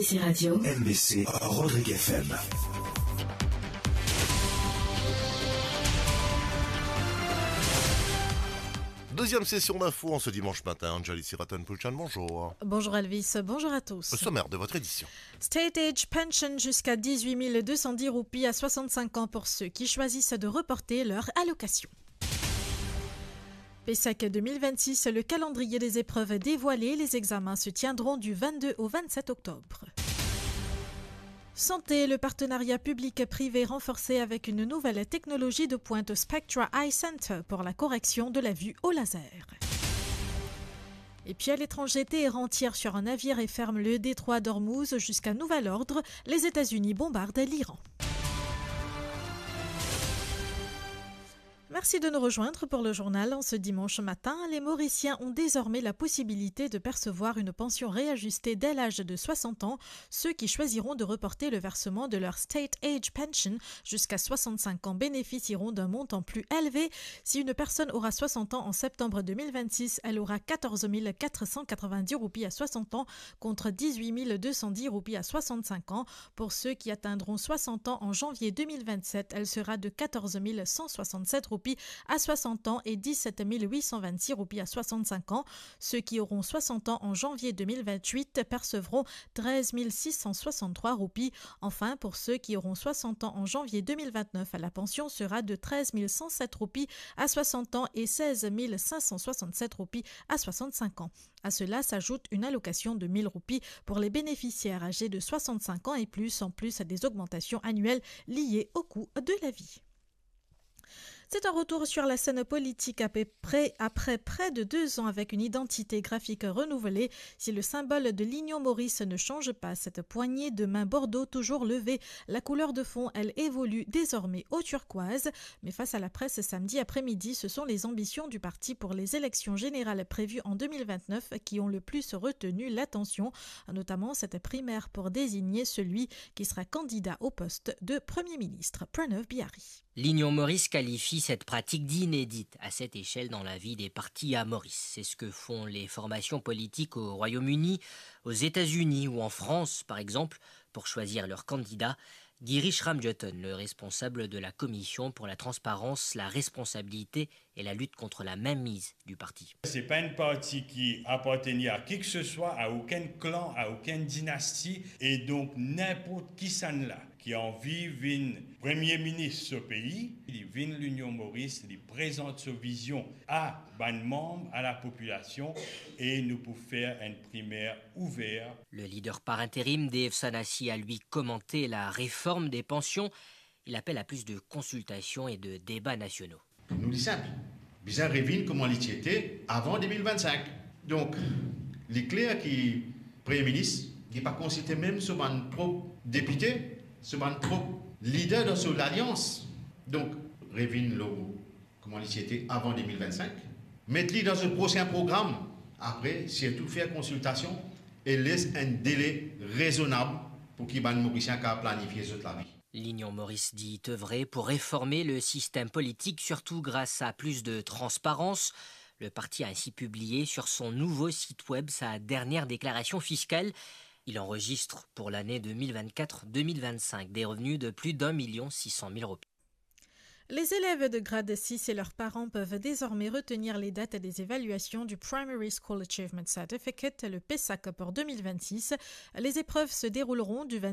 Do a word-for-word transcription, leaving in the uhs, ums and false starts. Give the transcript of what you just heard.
C Radio. M B C, Rodrigues F M. Deuxième session d'infos en ce dimanche matin. Anjali Siraton Poulchan, bonjour. Bonjour Elvis, bonjour à tous. Au sommaire de votre édition. State Age Pension jusqu'à dix-huit mille deux cent dix roupies à soixante-cinq ans pour ceux qui choisissent de reporter leur allocation. PESAC deux mille vingt-six, le calendrier des épreuves dévoilé, les examens se tiendront du vingt-deux au vingt-sept octobre. Santé, le partenariat public-privé renforcé avec une nouvelle technologie de pointe Spectra Eye Center pour la correction de la vue au laser. Et puis à l'étranger, Téhéran tire sur un navire et ferme le détroit d'Ormuz jusqu'à nouvel ordre. Les États-Unis bombardent l'Iran. Merci de nous rejoindre pour le journal. En ce dimanche matin, les Mauriciens ont désormais la possibilité de percevoir une pension réajustée dès l'âge de soixante ans. Ceux qui choisiront de reporter le versement de leur State Age Pension jusqu'à soixante-cinq ans bénéficieront d'un montant plus élevé. Si une personne aura soixante ans en septembre deux mille vingt-six, elle aura quatorze mille quatre cent quatre-vingt-dix roupies à soixante ans contre dix-huit mille deux cent dix roupies à soixante-cinq ans. Pour ceux qui atteindront soixante ans en janvier deux mille vingt-sept, elle sera de quatorze mille cent soixante-sept roupies à soixante ans et dix-sept mille huit cent vingt-six roupies à soixante-cinq ans. Ceux qui auront soixante ans en janvier deux mille vingt-huit percevront treize mille six cent soixante-trois roupies. Enfin, pour ceux qui auront soixante ans en janvier deux mille vingt-neuf, la pension sera de treize mille cent sept roupies à soixante ans et seize mille cinq cent soixante-sept roupies à soixante-cinq ans. À cela s'ajoute une allocation de mille roupies pour les bénéficiaires âgés de soixante-cinq ans et plus, en plus des augmentations annuelles liées au coût de la vie. C'est un retour sur la scène politique à peu près, après près de deux ans avec une identité graphique renouvelée. Si le symbole de l'Union Maurice ne change pas, cette poignée de main bordeaux toujours levée, la couleur de fond, elle, évolue désormais au turquoise. Mais face à la presse samedi après-midi, ce sont les ambitions du parti pour les élections générales prévues en deux mille vingt-neuf qui ont le plus retenu l'attention, notamment cette primaire pour désigner celui qui sera candidat au poste de Premier ministre, Pranav Bihari. L'Union Maurice qualifie cette pratique d'inédite à cette échelle dans la vie des partis à Maurice. C'est ce que font les formations politiques au Royaume-Uni, aux États-Unis ou en France, par exemple, pour choisir leur candidat. Girish Ramjothan, le responsable de la Commission pour la transparence, la responsabilité et la lutte contre la mainmise du parti. C'est pas un parti qui appartenait à qui que ce soit, à aucun clan, à aucune dynastie, et donc n'importe qui s'en là qui a envie vin premier ministre au pays, il vient l'Union Maurice, il présente sa vision à bann manm, à la population, et nous pour faire une primaire ouverte. Le leader par intérim, Dave Sanasi, a lui commenté la réforme des pensions. Il appelle à plus de consultations et de débats nationaux. Pou nou, li sinp. Bizin revinn kouma li ti ete avan de mil vennsenk. Donk, li kler ki Premie Minis, li pa konsilte mem so bann prop depite, so bann prop lider dan so lalians. Donk, revinn lor kouma li ti ete avan de mil vennsenk. Met li dan so prosin program. Apre, sirtou fer konsiltasion e les enn dele rezonab pou ki bann Morisien kapav planifie zot lavi. L'Union Maurice dit œuvrer pour réformer le système politique, surtout grâce à plus de transparence. Le parti a ainsi publié sur son nouveau site web sa dernière déclaration fiscale. Il enregistre pour l'année deux mille vingt-quatre deux mille vingt-cinq des revenus de plus d'un million six cent mille roupies. Les élèves de grade six et leurs parents peuvent désormais retenir les dates des évaluations du Primary School Achievement Certificate, le PESAC, pour deux mille vingt-six. Les épreuves se dérouleront du